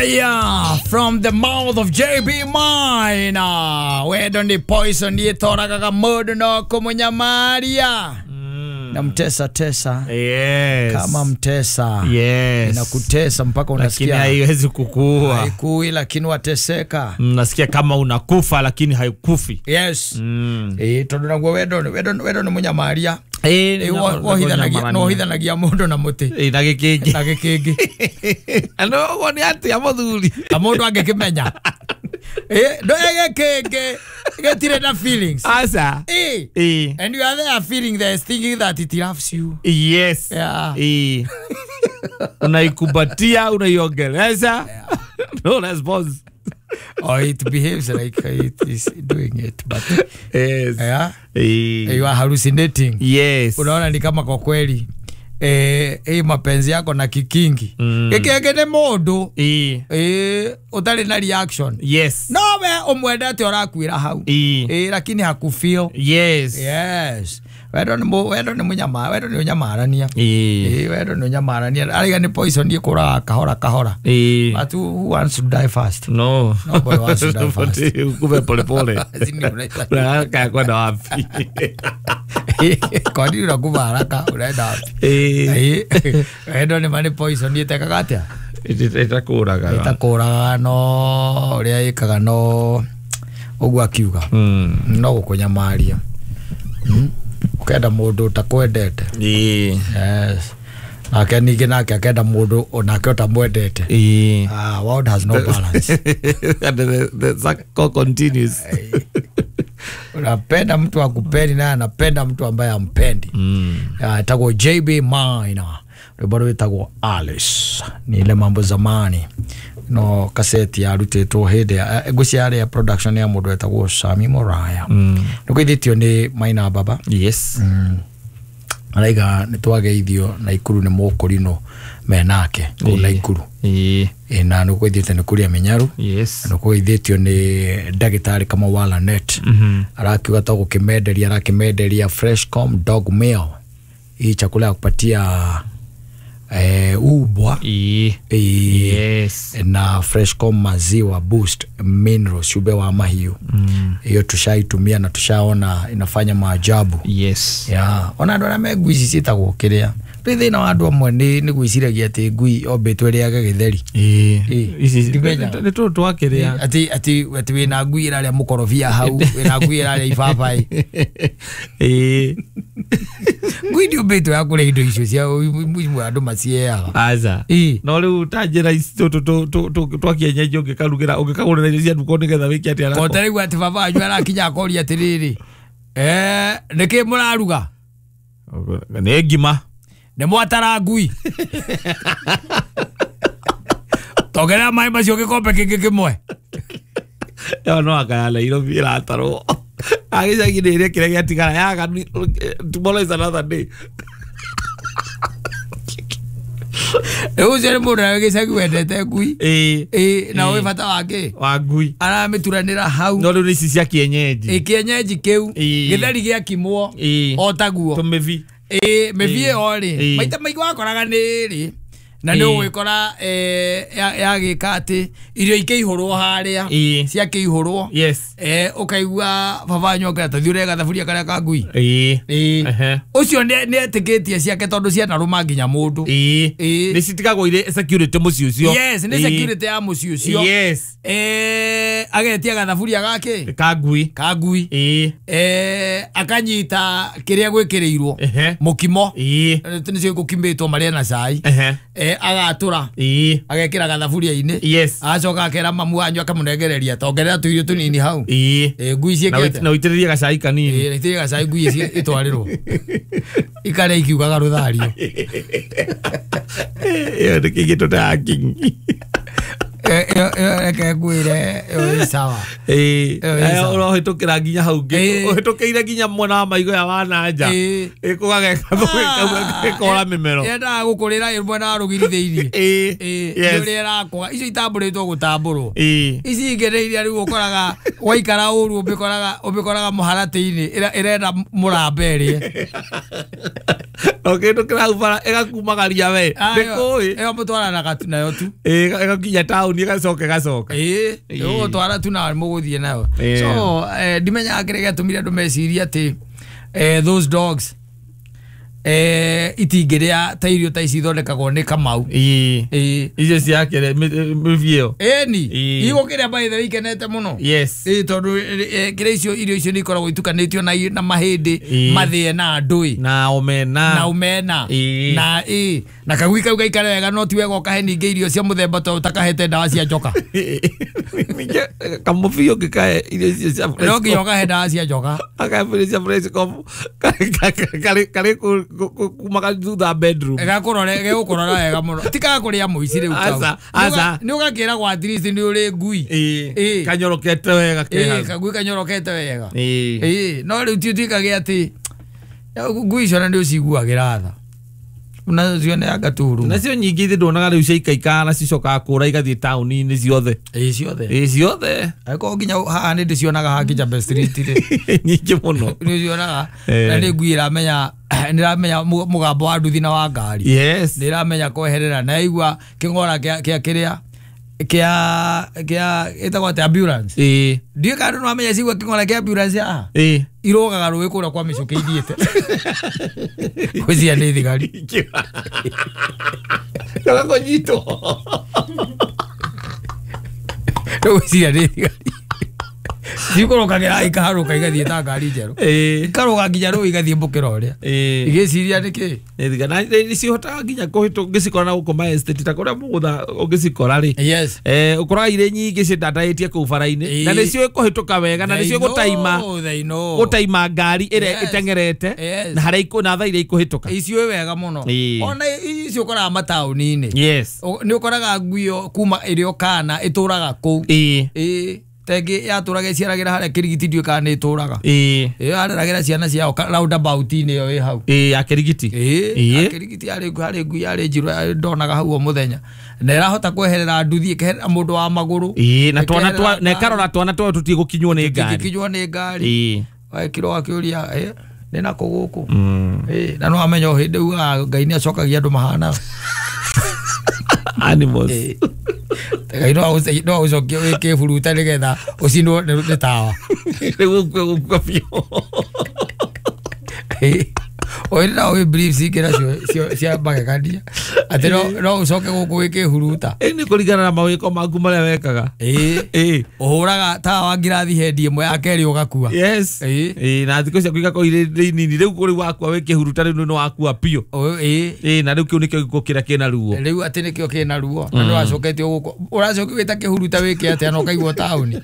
Fire from the mouth of JB Minor. Wendo ni poison yetoragaga mundu no kumunyamaria. Na mtesa tesa. Yes. Kama mtesa. Yes. Inakutesa mpaka unasikia. Lakini haiwezi kukua. Haikui lakini wateseka. Nasikia kama unakufa lakini haikufi. Yes. Tondu naguo wendo ni munyamaria. Wohithanagia mundu na muti. Na gikingi. Na gikingi. Ano uguo ni atia muthuri. Na mundu angikimenya. Ndo gikingi gitire na feelings. Asa. And you are there feeling there thinking that it loves you. Yes. Yeah. Unaikubatia, unaiongeleza. Yeah. No response. Or it behaves like it is doing it, but yes. Yeah. You are hallucinating. Yes. Unaona ni kama kwa kweli mapenzi yako na kikingi. Gikingi ni mundu. Utari na reaction. Yes. No we umwendete urakuira hau. Lakini hakufeel. Yes. Yes. Wendo ni munyama, wendo ni unyamarania. Wendo ni unyamarania. Ariga ni poison ikuraga kahora kahora. But who wants to die fast? No. Nobody wants to die fast. Ukume pole pole. Unataka kwenda wapi? Kwa nini unakufa haraka? Unaenda wapi? Wendo ni mani poison itekaga atia? Itakuraga. Itakuraga no uria ikaga no uguo akiuga. No gukunyamaria. Ukenda mundu utakwendete. Yes. Nake ningĩ nake akenda mundu onake utamwendete. World has no balance. And the cycle continues. Unapenda mtu akupendi na anapenda mtu ambaye ampendi. Itagwo JB Minor. Rwimbo rwitagwo Alice. Ni ile mambo zamani. No kaseti yarutĩtwo hĩndĩ ngwĩciria yarĩ ya production ya mũndũ wetagwo Sami Moraya. Nĩkũithĩtio nĩ Maina Baba. Yes. Araiga nĩ twageithio Naikuru nĩ mũkũrinũ menake kũu Naikuru. Na nĩkũithĩtio nĩ Kuria Minyaru. Yes. Nĩkũithĩtio nĩ ndagĩtarĩ Kamau wa Lanet. Arakiuga to gũkĩmenderia arakĩmenderia Freshcom dog meal. Hii chakula ya kupatia ubwa. Yes. Na Freshcom maziwa boost minerals ube wa mahiu. Hiyo tushaitumia na tushaona inafanya maajabu. Yes. Yeah. Ona andu aria me ngui ici ciĩtagwo kĩrĩa. Rĩ thĩna wa andũ amwe nĩ gwĩciragia atĩ ngui ombĩtwo ĩrĩage gĩtheri. Ici nĩ tũndũ twa kĩrĩa. Atĩ wĩna ngui ĩrarĩa mũkorobia hau, wĩna ngui ĩrarĩa ibabaĩ. Ngui ndĩũmbĩtwo ya kũrĩa indo icio cia imwe andũ macieaga. Aca. No rĩu ta njĩra ici twa kienyeji ũngĩkarugĩra ũngĩkagũrĩra irio cia nduka nĩgetha wĩke atĩa nako. Ko ta rĩu atĩ baba wanyu arakinya akoria atĩrĩrĩ, nĩkĩ mũraruga? Nĩ ngima. Nĩ mwatara ngui. Tongerera maĩ macio gĩkombe kĩngĩ kĩmwe. Ĩyo no anga ya Nairobi ĩratarwo. Agĩcagi nĩ ĩrĩa kĩrĩa gĩatigara yaga tomorrow is another day. Rĩu ũcio nĩ mũndũ ũrĩa gĩcagi wendete ngui. Na ũĩ bata wake wa ngui. Aramĩturanĩra hau. No rĩu nĩ ici cia kienyeji. Kienyeji kĩu. Gĩtheri gĩakimwo o taguo. Tũmĩbi. Mĩbi ĩyo rĩ maita maingĩ wakoraga nĩ rĩ na nĩ ũgwĩkora yagĩka atĩ irio ikĩihũrwo harĩa ciakĩihũrwo. Yes. Ũkaigua baba wanyu akĩra ta thiĩ ũrĩe gathaburia karĩa ka ngui. Ũcio nĩ etĩkĩtie ciake tondũ cianarũma nginya mũndũ. Nĩ citigagwo irĩ security mũciĩ ũcio. Yes, nĩ security ya mũciĩ ũcio. Yes. Agetia gathaburia gake ka ngui. Ka ngui. Akanyita kĩrĩa gwĩkĩrĩirwo mũkimo. Nĩcio gũkimĩtwo marĩa na cai. Agatura agekĩra gathaburia-inĩ. Yes. Agacoka akera mamu wanyu akamũnengereria tongerera tũirio tũnini hau. Ngui ciĩkĩte na ũitĩrĩrie gacai kanini. Itĩrĩrie gacai ngui itwarĩrwo ikarĩa ikiugaga rũthario. Ĩyo nĩ kĩngĩ ta kingi. Reke ngwĩre ĩyo ĩ sawa. Ũrohĩtũkĩra nginya hau ũhĩtũkĩire nginya mwena wa maigo ya wananja ĩkũgageka mĩmero yendaga gũkũrĩra mwena wa rũgiri thĩinĩ. Nĩ ũrĩa ĩrakũga icio itambũrĩtwo gũtambũrwo. Ici ingĩ nĩ iria rĩu ũkoraga waikara ũru ũmĩkoraga mũharatĩ-inĩ ĩrenda mũramba ĩrĩe. No kindu kiraubara igakumagaria we ndikuĩ ĩyo mũtwaranaga tu nayo tu. Ĩgakinya taũni ĩgacoka ĩgacoka. Ĩĩ ũgũtwara tu na mũgũthiĩ nayo. So ndimenyaga kĩrĩa gĩatũmire andũ mecirie atĩ those dogs itingĩrĩa ta irio ta ici ithondekagwo nĩ Kamau. Ĩĩ icio ciakĩre mĩbiũ. Ĩni igũkĩrĩa by the way ikenete mũno. Yes. Ĩĩ tondũ kĩrĩa icio irio icio nĩ ikoragwo itukanĩtio na mahĩndĩ mathĩe na ndũĩ na omena na omena na ĩ na kagui kau gaikare wega no ti wega ũkahe ningĩ irio cia mũthemba ta ũtakahete ndawa cia njoka. Kamũbiũ ngĩkahe irio icio cia no nginya ũkahe ndawa cia njoka. Akahe irio cia Freshcom karĩ kuma thutha bedroom. Gegũkũrora wega mũno tikakũrĩa mũici rĩu kau. Aca nĩ ũgakĩragwo at least nĩ ũrĩ ngui. Ĩĩ kanyorokete wega keha. Kagui kanyorokete wega. Ĩĩ no rĩu ti ũtuĩkage atĩ ngui icio na nĩ ũciguagĩra tha nacio nĩ anga turu nacio nyingĩ ithe ndonaga rĩu ciaikaikara na cicokaga kũra igathiĩ taũni-inĩ ciothe. Ĩĩ ciothe. Ĩĩ ciothe. Angĩkorwo nginya haha nĩ ndĩcionaga haha Kijabe Street rĩ nyingĩ mũno nĩ ũcionaga na nĩ ngui ĩramenya nĩ ĩramenya mũgambo wa nduthi na wa ngari. Yes. Nĩ ĩramenya kweherera na yaigua kĩng'ora kĩa kĩrĩa kĩa ĩtagwo atĩa ambulance. Ĩĩ ndiũĩ kana andũ no mamenya cigua kĩng'ora kĩa ambulance haha. Ĩĩ irũgaga rũĩ kũrĩa kwa mĩcũkĩ ithiĩte gwĩciria nĩ thigari. Kũnyitwo gwĩciria nĩ thigari cikũrũkagĩra ikaharũka igathiĩ ta ngari njerũ ikarũga nginya rũĩ igathiĩ mũkĩra ũrĩa igĩciria nĩkĩ nĩ na nĩcihotaga nginya ũngĩcikora na gũkũ ma estate ta kũrĩa mũgũtha ũngĩcikora rĩ. Yes. Ũkoraga irĩ nyingĩ citandaĩtie kũu bara-inĩ na nĩciũĩ kũhĩtũka wega na nĩciũĩ gũtaima gũtaima ngari ĩrĩa ĩteng'erete na harĩa na thaa iria ikũhĩtũka iciũĩ wega mũno. Ona icio ũkoraga mataũni-inĩ. Yes. Nĩ ũkoraga ngui ĩyo kuma ĩrĩ o kana ĩtũraga kũu. Ĩĩ tengĩ yatũraga ĩciaragĩra harĩa Kĩrigiti ndiũĩ kana nĩ ĩtũraga. Ĩĩ ĩyo yareragĩra ciana ciao roundabout-inĩ ĩyo ĩ hau. Ĩĩ ya Kĩrigiti. Ĩĩ Kĩrigiti harĩ ngui yarĩ njirũ ndonaga hau o mũthenya na ĩrahota kweherera nduthi ĩkeherera mũndũ wa magũrũ. Ĩĩ na twana twa na ĩkarora twana twayo tũtigũkinywo nĩ ngari. Tũtingĩkinywo nĩ ngari. Ĩĩ wekirwo akĩũria nĩ nakũ gũkũ. Ĩĩ na no amenya o hĩndĩ ugaga Ngai nĩ acokagia andũ mahana animals. Ngai no agũcokie wĩ kĩburuta nĩgetha ũcinwo nĩ tawa. Rĩu ũkue biũ. Oĩ no wĩ briefs ingĩ nacio cia magegania atĩ no ũcoke gũkũ wĩ kĩhuruta. Ĩĩ nĩ kũringana na mawĩko maku marĩa wekaga. Ĩĩ ũhũraga tawa wa ngirathi hendi ĩmwe ya kerĩ ũgakua. Yes. Ĩĩ na thikũ ciaku igakorwo irĩ nini rĩu kũrĩ wakua wĩ kĩhuruta rĩu nĩ wakua biũ. Ĩĩ ĩĩ na rĩu kĩu nĩkĩo gĩkuũ kĩrĩa kĩna ruo. Rĩu atĩ nĩkĩo kĩna ruo na nĩ wacoketio gũkũ ũracokio wĩta kĩhuruta wĩke atĩa na ũkaigwo taũni.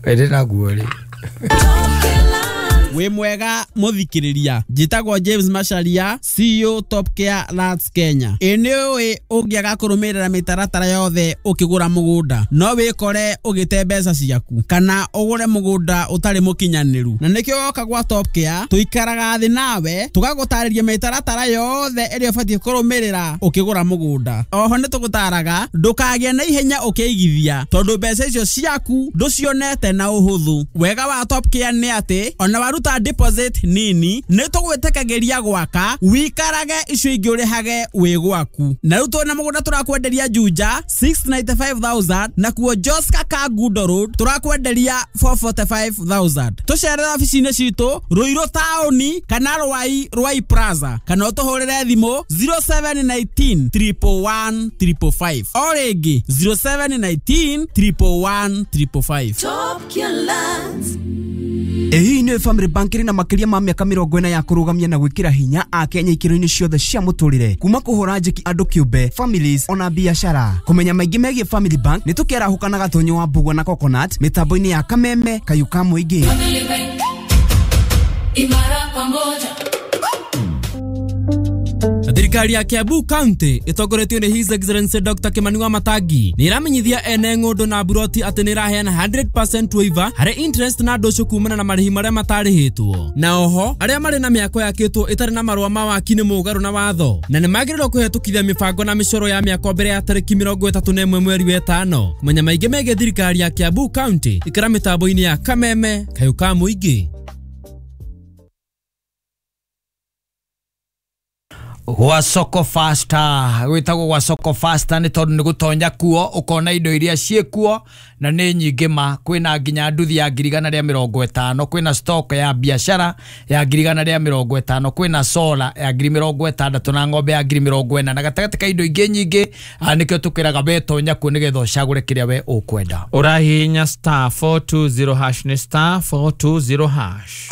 Ĩndĩ naguo rĩ. Wĩ mwega mũthikĩrĩria, njĩtagwo James Macharia, CEO Top Care Lands Kenya. Ĩ nĩ ũĩ ũngĩaga kũrũmĩrĩra mĩtaratara yothe ũkĩgũra mũgũnda no wĩkore ũgĩte mbeca ciaku kana ũgũre mũgũnda ũtarĩ mũkinyanĩru, na nĩkĩo woka gwa Top Care tũikaraga thĩ nawe tũgagũtarĩria mĩtaratara yothe ĩrĩa ũbatiĩ kũrũmĩrĩra ũkĩgũra mũgũnda. Oho nĩ tũgũtaraga ndũkagĩe na ihenya ũkĩigithia tondũ mbeca icio ciaku ndũcionete na ũhũthũ. Wega wa Top Care nĩ atĩ ona waruta deposit nini nĩ tũgwĩtĩkagĩria gwaka wikarage icio ingĩ ũrĩhage wĩ gwaku. Na rĩu twĩna mũgũnda tũrakwenderia Juja 695,000 na kuo Joska Kangundo Road tũrakwenderia 445,000. Tũcerere obici-inĩ citũ Ruiru taũni kana Rwai Rwai Plaza kana ũtũhũrĩre thimũ 0719 111 555 o rĩngĩ 0719 111 555. Top Care Lands. Ĩĩ nĩ Family Bank ĩrĩ na makĩria ma mĩaka 40 ya kũrũgamia na gwĩkĩra hinya Akenya ikĩro-inĩ ciothe cia mũtũrĩre kuma kũhũra njeki andũ kĩũmbe, families ona biashara. Kũmenya maingĩ megiĩ Family Bank nĩ tũkĩarahũkana Gatonyo wa Mbugua na Coconut mĩtambo-inĩ ya Kameme Kayũ ka Mũingĩ. Imara pamoja. Thirikari ya Kiambu County ĩtongoretio nĩ His Excellency Dr. Kimani Wamatangi nĩ ĩramenyithia ene ng'ũndũ na buroti atĩ nĩ ĩraheana 100% waiver harĩ interest na ndũcũ kumana na marĩhi marĩa matarĩhĩtwo, na oho arĩa marĩ na mĩako yakĩtwo ĩtarĩ na marũa ma waki nĩ mũgarũ na watho na nĩ magĩrĩirwo kũhetũkithia mĩbango na mĩcoro ya mĩako mbere ya tarĩki 31 mweri wa 5. Kũmenya maingĩ megiĩ thirikari ya Kiambu County ikara mĩtambo-inĩ ya Kameme Kayũ ka Mũingĩ. Gwa Soko Faster, gwĩtagwo gwa Soko Faster nĩ tondũ nĩ gũtonya kuo ũkona indo iria ciĩkuo na nĩ nyingĩ ma. Kwĩna nginya nduthi ya 150,000, kwĩna stock ya biashara ya 150,000, kwĩna solar ya 60,000 na ng'ombe ya 40,000 na gatagatĩ ka indo ingĩ nyingĩ. Nĩkĩo tũkwĩraga we tonya kuo nĩgetha ũcagũre kĩrĩa we ũkwenda. Ũrahihinya star 420 hash, nĩ star 420 hash.